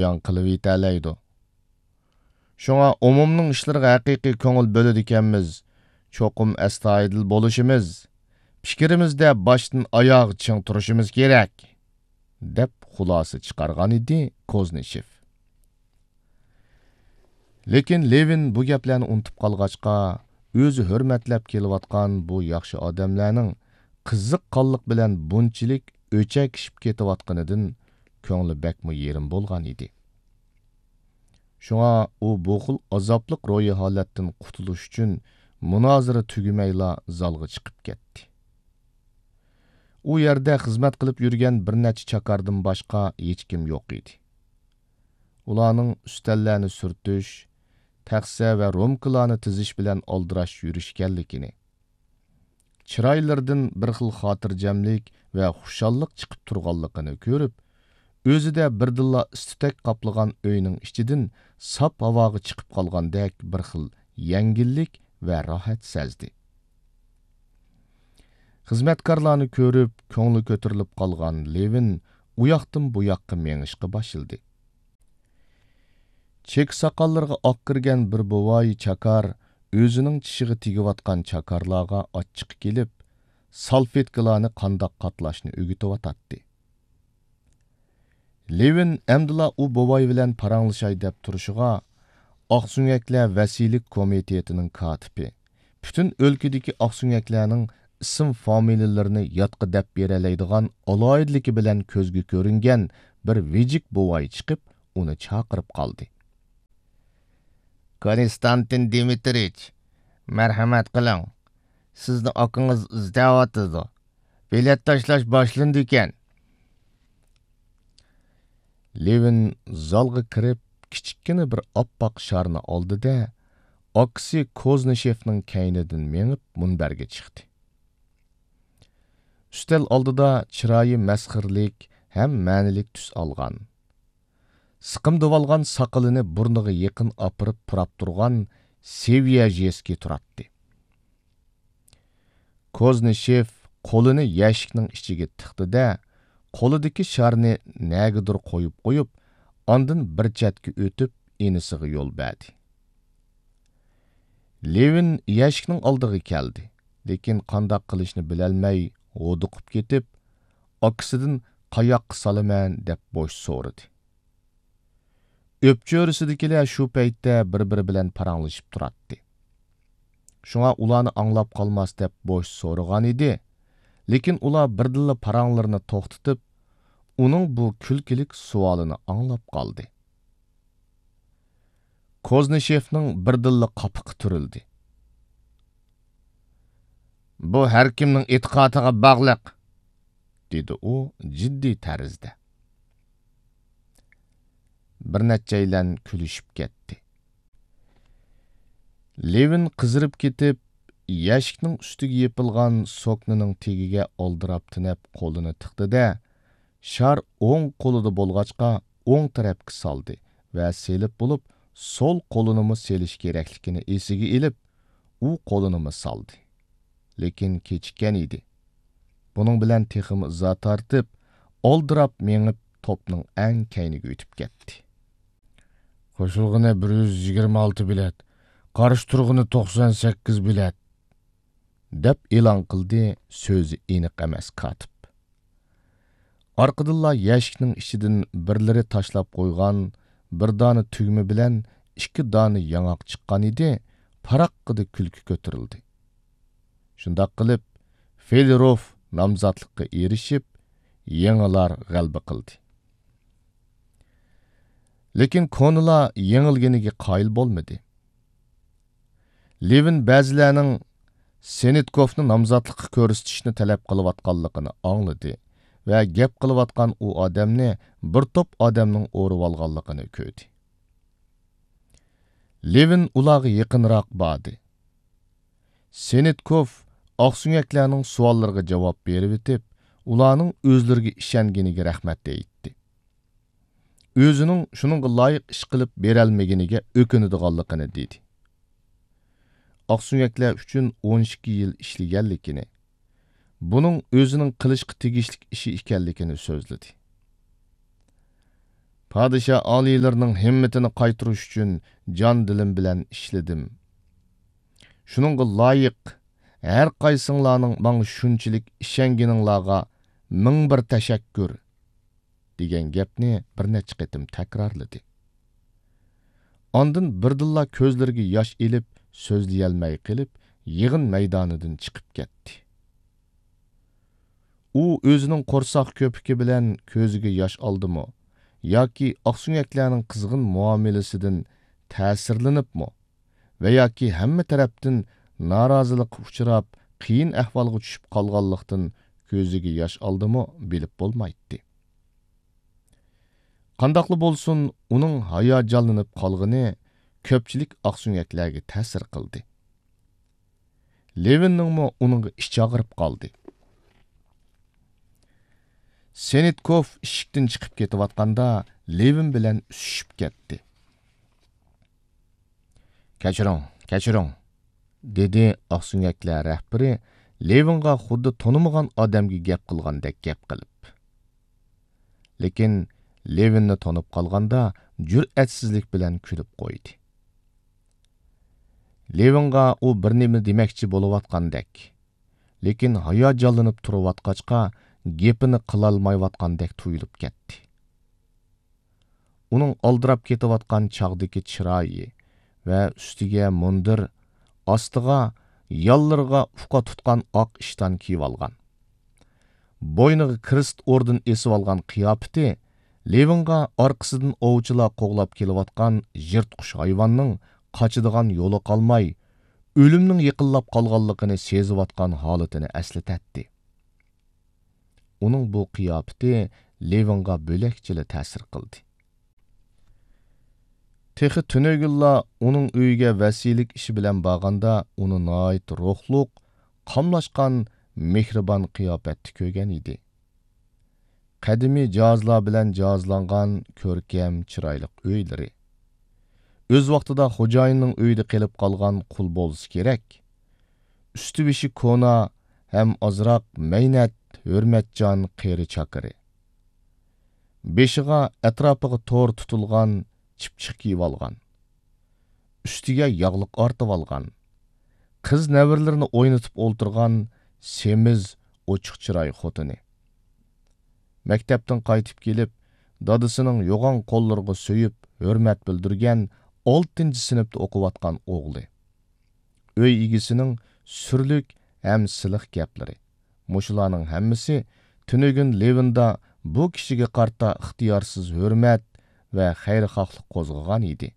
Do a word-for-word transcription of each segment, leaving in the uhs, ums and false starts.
بايان قىلىۋېتەلەيدۇ. شۇڭا ئومۇمنىڭ ئىشلىرىغا ھەقىقىي كۆڭۈل بۆلىدىكەنمىز، چوقۇم ئەستايىدىل بولۇشىمىز، پىكرىمىزدە باشتىن ئاياغ چىڭ تۇرۇشىمىز كېرەك، دەپ خۇلاسە چىقارغان ئىدى كوزنىشېف. لېكىن لېۋىن بۇ گەپلەرنى ئۇنتۇپ قالغاچقا، ئۆزى ھۆرمەتلەپ كېلىۋاتقان بۇ ياخشى ئادەملەرنىڭ قىزىق قانلىق بىلەن بۇنچىلىك ئۆچەكىشىپ كېتىۋاتقىنىدىن كۆڭلى بەكمۇ يېرىم بولغان ئىدى. شۇڭا ئۇ بۇ خىل ئازابلىق روھىي ھالەتتىن قۇتۇلۇش ئۈچۈن مۇنازىرە تۈگىمەيلا زالغا چىقىپ كەتتى. ئۇ يەردە خىزمەت قىلىپ يۈرگەن بىر نەچچە چاكاردىن باشقا ھېچكىم يوق ئىدى. ئۇلارنىڭ ئۈستەللەرنى سۈرتۈش، تەخسە ۋە رومكىلارنى تىزىش بىلەن ئالدىراش يۈرۈشكەنلىكىنى، چىرايلىرىدىن بىر خىل خاتىرجەملىك ۋە خۇشاللىق چىقىپ تۇرغانلىقىنى كۆرۈپ، ئۆزىدە بىردىنلا ئىس-تۈتەك قاپلىغان ئۆينىڭ ئىچىدىن ساپ ھاۋاغا چىقىپ قالغاندەك بىر خىل يەڭگىللىك ۋە راھەت سەزدى. خىزمەتكارلارنى كۆرۈپ، كۆڭلى كۆتۈرۈلۈپ قالغان لېۋىن ئۇياقتىن بۇياققا مېڭىشقا باشلىدى. چېكە ساقاللىرىغا ئاق كىرگەن بىر بوۋاي چاكار ئۆزىنىڭ چىشىغا تېگىۋاتقان چاكارلارغا ئاچچىقى كېلىپ، سالفېتكىلارنى قانداق قاتلاشنى ئۆگىتىۋاتاتتى. لېۋىن ئەمدىلا ئۇ بوۋاي بىلەن پاراڭلىشاي دەپ تۇرۇشىغا، ئاقسۆڭەكلەر ۋەسىيلىك كومىتېتىنىڭ كاتىپى، پۈتۈن ئۆلكىدىكى ئاقسۆڭەكلەرنىڭ ئىسىم فامىلىلىرىنى يادقا دەپ بېرەلەيدىغان ئالاھىدىلىكى بىلەن كۆزگە كۆرۈنگەن بىر ۋىجىك بوۋاي چىقىپ، ئۇنى چاقىرىپ قالدى. كونستانتىن دىمىترىچ، مەرھەمەت قىلىڭ، سىزنى ئاكىڭىز ئىزدەۋاتىدۇ. بېلەت تاشلاش باشلىنىدىكەن. لېۋىن زالغا كىرىپ، كىچىككىنە بىر ئاپئاق شارنى ئالدى-دە، ئاكىسى كوزنىشېفنىڭ كەينىدىن مېڭىپ، مۇنبەرگە چىقتى. ئۈستەل ئالدىدا چىرايى مەسخىرىلىك ھەم مەنىلىك تۈس ئالغان، سىقىمدىۋالغان ساقىلىنى بۇرنىغا يېقىن ئاپىرىپ پۇراپ تۇرغان سېۋياژېسكىي تۇراتتى. كوزنىشېف قولىنى يەشىكنىڭ ئىچىگە تىقتى-دە، قولىدىكى شارنى نەگىدۇر قويۇپ قويۇپ، ئاندىن بىر چەتكە ئۆتۈپ، ئىنىسىغا يول بەردى. لېۋىن يەشىكنىڭ ئالدىغا كەلدى، لېكىن قانداق قىلىشنى بىلەلمەي ھودۇقۇپ كېتىپ، ئاكىسىدىن «قاياققا سالىمەن؟» دەپ بوش سورىدى. ئۆپچۆرىسىدىكىلەر شۇ پەيتتە بىر-بىرى بىلەن پاراڭلىشىپ تۇراتتى. شۇڭا ئۇلارنى ئاڭلاپ قالماس دەپ بوش سورىغان ئىدى، لېكىن ئۇلار بىردىنلا پاراڭلىرىنى توختىتىپ، ئۇنىڭ بۇ كۈلكىلىك سوئالىنى ئاڭلاپ قالدى. كوزنىشېفنىڭ بىردىنلا قاپىقى تۈرۈلدى. «بۇ ھەركىمنىڭ ئېتىقادىغا باغلىق»، دېدى ئۇ جىددىي تەرزدە. بىر نەچچەيلەن كۈلۈشۈپ كەتتى. لېۋىن قىزىرىپ كېتىپ، يەشىكنىڭ ئۈستىگە يېپىلغان سوكنىنىڭ تېگىگە ئالدىراپ تېنەپ قولىنى تىقتى-دە، شار ئوڭ قولىدا بولغاچقا، ئوڭ تەرەپكە سالدى ۋە سېلىپ بولۇپ، سول قولىنىمۇ سېلىش كېرەكلىكىنى ئېسىگە ئېلىپ، ئۇ قولىنىمۇ سالدى. لېكىن كېچىككەن ئىدى. بۇنىڭ بىلەن تېخىمۇ ئىزا تارتىپ، ئالدىراپ مېڭىپ، توپنىڭ ئەڭ كەينىگە ئۆتۈپ كەتتى. «قوشۇلغىنى بىر يۈز يىگىرمە ئالتە بېلەت، قارشى تۇرغىنى توقسان سەككىز بېلەت»، دەپ ئېلان قىلدى سۆزى ئېنىق ئەمەس كاتىپ. ئارقىدىنلا يەشىكنىڭ ئىچىدىن بىرلىرى تاشلاپ قويغان بىر دانە تۈگمە بىلەن ئىككى دانە ياڭاق چىققان ئىدى، پاراققىدە كۈلكە كۆتۈرۈلدى. شۇنداق قىلىپ، فېلېروف نامزاتلىققا ئېرىشىپ، يېڭىلار غەلىبە قىلدى. لېكىن كونىلار يېڭىلگىنىگە قايىل بولمىدى. لېۋىن بەزىلەرنىڭ سېنىتكوفنى نامزاتلىققا كۆرسىتىشنى تەلەپ قىلىۋاتقانلىقىنى ئاڭلىدى ۋە گەپ قىلىۋاتقان ئۇ ئادەمنى بىر توپ ئادەمنىڭ ئورىۋالغانلىقىنى كۆردى. لېۋىن ئۇلارغا يېقىنراق باردى. سېنىتكوف ئاقسۆڭەكلەرنىڭ سوئاللىرىغا جاۋاب بېرىۋېتىپ، ئۇلارنىڭ ئۆزلىرىگە ئىشەنگىنىگە رەھمەت ئېيتتى. ئۆزىنىڭ شۇنىڭغا لايىق ئىش قىلىپ بېرەلمىگىنىگە ئۆكۈنىدىغانلىقىنى دېدى. ئاقسۆڭەكلەر ئۈچۈن ئون ئىككى يىل ئىشلىگەنلىكىنى، بۇنىڭ ئۆزىنىڭ قىلىشقا تېگىشلىك ئىشى ئىكەنلىكىنى سۆزلىدى. پادىشاھ ئالىيلىرىنىڭ ھىممىتىنى قايتۇرۇش ئۈچۈن جان-دىلىم بىلەن ئىشلىدىم. شۇنىڭغا لايىق، ھەر قايسىڭلارنىڭ ماڭا شۇنچىلىك ئىشەنگىنىڭلارغا مىڭ بىر تەشەككۈر، دېگەن گەپنى بىر نەچچە قېتىم تەكرارلىدى. ئاندىن بىردىنلا كۆزلىرىگە ياش ئېلىپ، سۆزلىيەلمەي قېلىپ، يىغىن مەيدانىدىن چىقىپ كەتتى. ئۇ ئۆزىنىڭ قورساق كۆپۈكى بىلەن كۆزىگە ياش ئالدىمۇ ياكى ئاقسۆڭەكلەرنىڭ قىزغىن مۇئامىلىسىدىن تەسىرلىنىپمۇ ۋە ياكى ھەممە تەرەپتىن نارازىلىققا ئۇچراپ، قىيىن ئەھۋالغا چۈشۈپ قالغانلىقتىن كۆزىگە ياش ئالدىمۇ بىلىپ بولمايتتى. قانداقلا بولسۇن، ئۇنىڭ ھاياجانلىنىپ قالغىنى كۆپچىلىك ئاقسۆڭەكلەرگە تەسىر قىلدى. لېۋىننىڭمۇ ئۇنىڭغا ئىچى ئاغرىپ قالدى. سېنىتكوف ئىشىكتىن چىقىپ كېتىۋاتقاندا، لېۋىن بىلەن ئۈسۈشۈپ كەتتى. «كەچۈرۈڭ، كەچۈرۈڭ»، دېدى ئاقسۆڭەكلەر رەھبىرى لېۋىنغا خۇددى تونۇمىغان ئادەمگە گەپ قىلغاندەك گەپ قىلىپ. لېكىن لېۋىننى تونۇپ قالغاندا، جۈرئەتسىزلىك بىلەن كۈلۈپ قويدى. لېۋىنغا ئۇ بىر نېمە دېمەكچى بولۇۋاتقاندەك، لېكىن ھاياجانلىنىپ تۇرۇۋاتقاچقا، گېپىنى قىلالمايۋاتقاندەك تۇيۇلۇپ كەتتى. ئۇنىڭ ئالدىراپ كېتىۋاتقان چاغدىكى چىرايى ۋە ئۈستىگە مۇندىر، ئاستىغا ياللىرىغا ئۇقا تۇتقان ئاق ئىشتان كىيىۋالغان، بوينىغا كرېست ئوردېن ئېسىۋالغان قىياپىتى لېۋىنغا ئارقىسىدىن ئوۋچىلار قوغلاپ كېلىۋاتقان يىرتقۇچ ھايۋاننىڭ قاچىدىغان يولى قالماي، ئۆلۈمنىڭ يېقىنلاپ قالغانلىقىنى سېزىۋاتقان ھالىتىنى ئەسلىتەتتى. ئۇنىڭ بۇ قىياپىتى لېۋىنغا بۆلەكچىلا تەسىر قىلدى. تېخى تۈنۈگۈنلا ئۇنىڭ ئۆيىگە ۋەسىيلىك ئىشى بىلەن بارغاندا، ئۇنى ناھايىتى روھلۇق، قاملاشقان، مېھرىبان قىياپەتتە كۆرگەن ئىدى. قەدىمىي جاھازلار بىلەن جاھازلانغان كۆركەم، چىرايلىق ئۆيلىرى، ئۆز ۋاقتىدا خوجايىننىڭ ئۆيىدە قېلىپ قالغان قۇل بولسا كېرەك، ئۈستى-بېشى كونا ھەم ئازراق مەينەت، ھۆرمەتچان قېرى چاكىرى. بېشىغا، ئەتراپىغا تور تۇتۇلغان چىپچىق كىيىۋالغان، ئۈستىگە ياغلىق ئارتىۋالغان، قىز نەۋرىلىرىنى ئوينىتىپ ئولتۇرغان سېمىز، ئوچۇق چىراي خوتۇنى. مەكتەپتىن قايتىپ كېلىپ، دادىسىنىڭ يوغان قوللىرىغا سۆيۈپ ھۆرمەت بىلدۈرگەن ئالتىنچى سىنىپتا ئوقۇۋاتقان ئوغلى. ئۆي ئىگىسىنىڭ سۈرلۈك ھەم سىلىق گەپلىرى، مۇشۇلارنىڭ ھەممىسى تۈنۈگۈن لېۋىندا بۇ كىشىگە قارىتا ئىختىيارسىز ھۆرمەت ۋە خەيرىخاھلىق قوزغىغان ئىدى.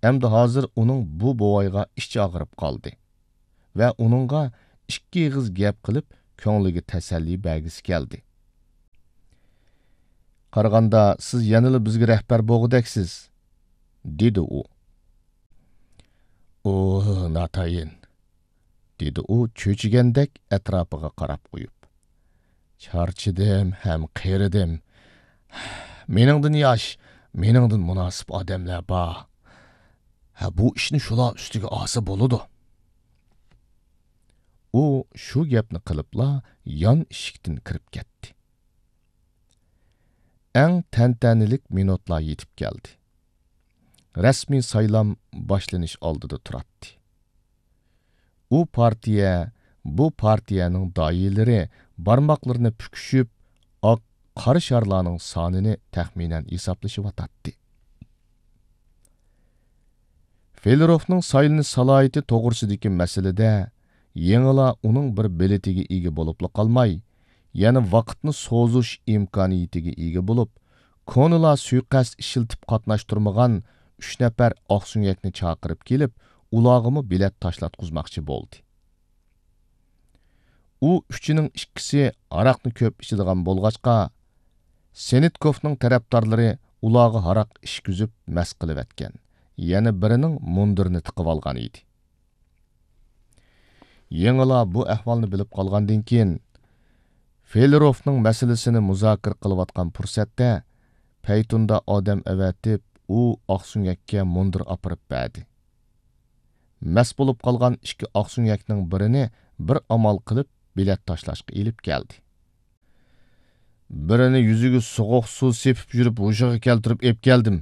ئەمدى ھازىر ئۇنىڭ بۇ بوۋايغا ئىچى ئاغرىپ قالدى ۋە ئۇنىڭغا ئىككى ئېغىز گەپ قىلىپ، كۆڭلىگە تەسەللى بەرگۈسى كەلدى. «قارىغاندا، سىز يەنىلا بىزگە رەھبەر بولغۇدەكسىز»، دېدى ئۇ. «ئۇ ناتايىن»، دېدى ئۇ چۆچۈگەندەك ئەتراپىغا قاراپ قويۇپ. «چارچىدىم ھەم قېرىدىم. مېنىڭدىن ياش، مېنىڭدىن مۇناسىپ ئادەملەر بار. ھە، بۇ ئىشنى شۇلار ئۈستىگە ئالسا بولىدۇ.» ئۇ شۇ گەپنى قىلىپلا يان ئىشىكتىن كىرىپ كەتتى. ئەڭ تەنتەنىلىك مىنۇتلار يېتىپ كەلدى. رەسمىي سايلام باشلىنىش ئالدىدا تۇراتتى. ئۇ پارتىيە، بۇ پارتىيەنىڭ داھىيلىرى بارماقلىرىنى پۈكۈشۈپ، ئاق قارا شارلارنىڭ سانىنى تەخمىنەن ھېسابلىشىۋاتاتتى. فېلېروفنىڭ سايلىنىش سالاھىيىتى توغرىسىدىكى مەسىلىدە يېڭىلا ئۇنىڭ بىر بېلىتىگە ئىگە بولۇپلا قالماي، يەنە ۋاقىتنى سوزۇش ئىمكانىيىتىگە ئىگە بولۇپ، كونىلار سۇيىقەست ئىشلىتىپ قاتناشتۇرمىغان ئۈچ نەپەر ئاقسۆڭەكنى چاقىرىپ كېلىپ، ئۇلارغىمۇ بېلەت تاشلاتقۇزماقچى بولدى. ئۇ ئۈچىنىڭ ئىككىسى ھاراقنى كۆپ ئىچىدىغان بولغاچقا، سېنىتكوفنىڭ تەرەپدارلىرى ئۇلارغا ھاراق ئىچكۈزۈپ مەست قىلىۋەتكەن، يەنە بىرىنىڭ مۇندىرىنى تىقىۋالغان ئىدى. يېڭىلا بۇ ئەھۋالنى بىلىپ قالغاندىن كېيىن، فېلېروفنىڭ مەسىلىسىنى مۇزاكىرە قىلىۋاتقان پۇرسەتتە، پەيتۇندا ئادەم ئەۋەتىپ، ئۇ ئاقسۆڭەككە مۇندىر ئاپىرىپ بەردى. مەست بولۇپ قالغان ئىككى ئاقسۆڭەكنىڭ بىرىنى بىر ئامال قىلىپ بېلەت تاشلاشقا ئېلىپ كەلدى. بىرىنى يۈزىگە سوغۇق سۇ سېپىپ يۈرۈپ ھوشىغا كەلتۈرۈپ ئېلىپ كەلدىم.